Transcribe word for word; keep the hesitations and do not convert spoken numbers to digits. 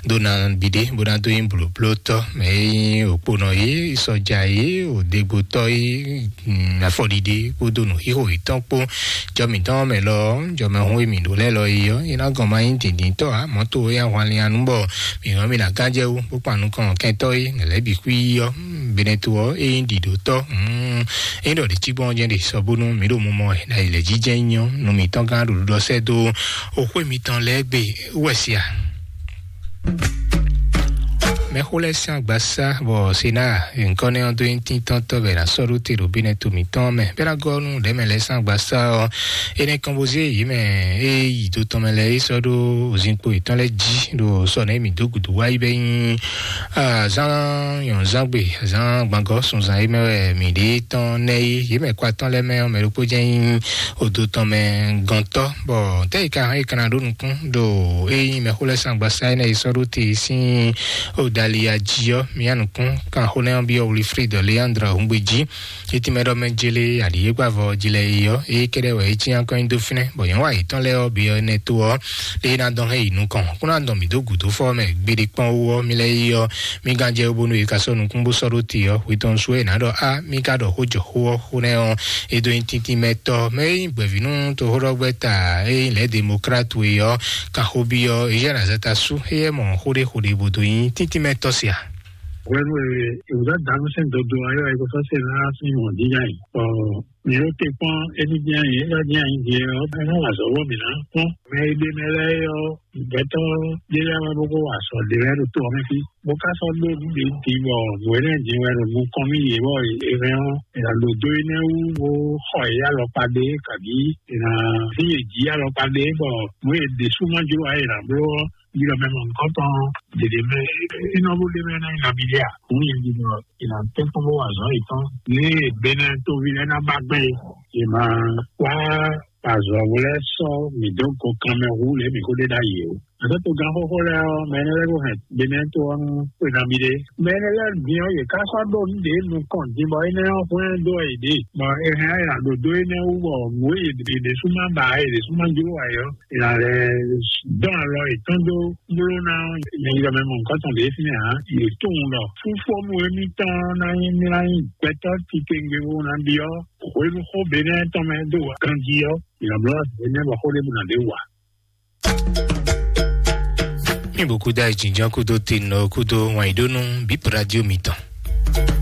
ɖó ná ɖiɖe bó ná dó nyí blǒblótɔ́ mɛ e nyí òkponɔ é, sɔja é, òdegbotɔ́ é, afɔɖiɖe kpódó nǔxixo yětɔn kpó. Jɔ mǐtɔn mɛ lɔ, jɔmɛhún e mǐ ɖó lɛ́ɛ lɔ é ɔ́, é ná gɔn ma nyí dǐndíntɔ́ ǎ. Mɔ̌ to é ahwanlin anu bɔ mǐ hɔn mǐ ná gán jɛ wú bó kpan nukɔn kɛntɔ́ é lɛ̌ bǐ xwí ɔ́. Benɛto ɔ́, é nyí ɖiɖotɔ́. É ɖɔ ɖě cí gbɔn jɛ́n ɖe sɔ bónú mǐ ɖo mumɔ ɛ ná yi lɛ̌ jijɛ nyɔ nú mǐtɔn gán ɖo ɖuɖɔ sɛ́ dó oxwé mitɔn lɛ́ɛ gbe wɛ sia. Mɛxó lɛ́ɛ sín agbasá bɔ sena nkɔnɛ ɔ́ dó nyí tíntɔ́ntɔ́ bɛ ná sɔ́ ɖó te ɖo bínɛ to mǐtɔn mɛ bɛ ná gɔ́ nú ɖɛ̌mɛ lɛ́ɛ sín agbasá ɔ́. Énɛ́ kɔn bó zé yě mɛ é yi do tɔn mɛ lɛ́ɛ é sɔ́ ɖó ozinkpo yětɔn lɛ́ɛ jí ɖo sɔ nɛ̌ mǐ dó gǔdo wá yi bɛ nyí azán nyɔ̌nzángbe, azán gbangɔ sunzan é mɛ wɛ mǐ ɖe tɔn nɛ é. Yě mɛ kɔ atɔn lɛ́ɛ mɛ ɔ́, mɛ ɖokpó jɛ́n nyí odo tɔn mɛ gɔntɔ́ bɔ tɛ́ yi ka hɔn yi kana ɖó nukún ɖo é nyí mɛxó lɛ́ɛ sín agbasá énɛ́ yi sɔ́ ɖó te sín odali ají ɔ́. Mía nukún kan xó nɛ́ ɔ́ byɔ́ Wilfrid Leandre Hungbeji. Étí mɛ ɖɔ mɛ jele aɖǐ é gbavɔ jí lɛ yi ɔ́, é kɛɖɛ wɛ é cí akɔnyi dó fínɛ́ bɔ nyɔ̌nu ayǐtɔn lɛ́ɛ ɔ́ byɔ́ énɛ́ tó ɔ́, lé ná dɔn hɛn yi nukɔn kó ná dɔn mǐ dó gǔdo fɔ mɛ gbeɖé kpɔ́n wú ɔ́, mí lɛ́ yi ɔ́, mí gán jɛ bónú é ka sɔ́ nukún bó sɔ́ ɖó te ɔ́, hwe tɔn sú é nǎ ɖɔ á mí ka ɖɔ xó jɔ xó ɔ́ xó nɛ́ ɔ́. É dó nyí tíntín mɛ tɔ́ mɛ é nyí gbɛ̌vínú toxóɖɔgbɛ́ta é nyí lɛ̌ demokrat we ɔ́, kan xó byɔ́ é jɛ nǎ zata sú é yɛ mɔ xó ɖé xó ɖé bó dó nyí tíntín mɛ tɔ́ sia. Hwenu e ìwúzá dǎnú sín dodo ayɔ e ko sɔ́ se ná sín mɔ̌ dín nya yi, bɔ mǐ ɖo te kpɔ́n émí dín anyi, é ná dín anyi din ɔ́, é ná wa azɔ̌ bɔ mǐ ná kpɔ́n. Mɛ e ɖe mɛ lɛ́ɛ é ɔ́, gbɛtɔ́ ɖé lɛ́ɛ wɛ bó ko wa azɔ̌ ɖé lɛ́ɛ ɖo to ɔ́ mɛ fí, bó ka sɔ́ ɖó nǔ ɖě din bɔ nǔ énɛ́ din wɛ ɖo nukɔn mì yě bɔ è hɛn ɔ́, è nǎ ɖo dó énɛ́ wú bó xɔ yě alɔkpa ɖé, kabǐ è nǎ hín yě jí alɔkpa ɖé bɔ nǔ e yě ɖésú ma jló ǎ è nǎ bló ɔ́, yi ɖɔ mɛ mɔ̌hunkɔtɔn ɖěɖé mɛ, é nɔ bó ɖe mɛ ná yi nabí ɖé a? Nǔ nyi ɖi ɖɔ è nǎ tɛ́nkpɔ́n bó wa azɔ̌ yětɔn. Ní Benɛ́ɛ tóví lɛ́ɛ ná ba gbɛn é, è ma wá azɔ̌ lɛ́ɛ sɔ́ mǐ dó go kanmɛ hú lě mǐ ko ɖe ɖ'ayǐ ó. Azɔ̌ togán xóxó lɛ́ɛ ɔ́, mɛ énɛ́ lɛ́ɛ ko hɛn Benɛ́ɛ tó ɔ́ nú xwe nabí ɖé. Mɛ énɛ́ lɛ́ɛ din ɔ́, yě ká sɔ́ ɖó nǔ ɖě nukɔn din bɔ énɛ́ ɔ́ hwlɛ́n dó wɛ yě ɖe. Bɔ è hɛn ɔ́, è nǎ ɖo dó énɛ́ wú bɔ nǔ e yě ɖésú ma ba ǎ, yě ɖésú ma jló ǎ é ɔ́, è nǎ lɛ́ dɔn alɔ yětɔn dó bló ná ɔ́, mɛ yi ɖɔ mɛ mɔ nukɔn tɔn ɖě fínɛ́ ǎ. Yě tunwun ɖɔ fúnfɔ́nú émítɔn ná nyí mí ná nyí gbɛtɔ́ titewungbe bó ná byɔ́ hwenu xó Benɛ́ɛ tɔn mɛ dó ganjí ɔ́, è nǎ bló Benɛ́ɛ bɔ xó ɖěbǔ ná ɖě wa. Mi bó kúdó ayǐjínjɔ́n kúdó tenɔ kúdó wǎnyíɖónú bǐ radio mitɔn.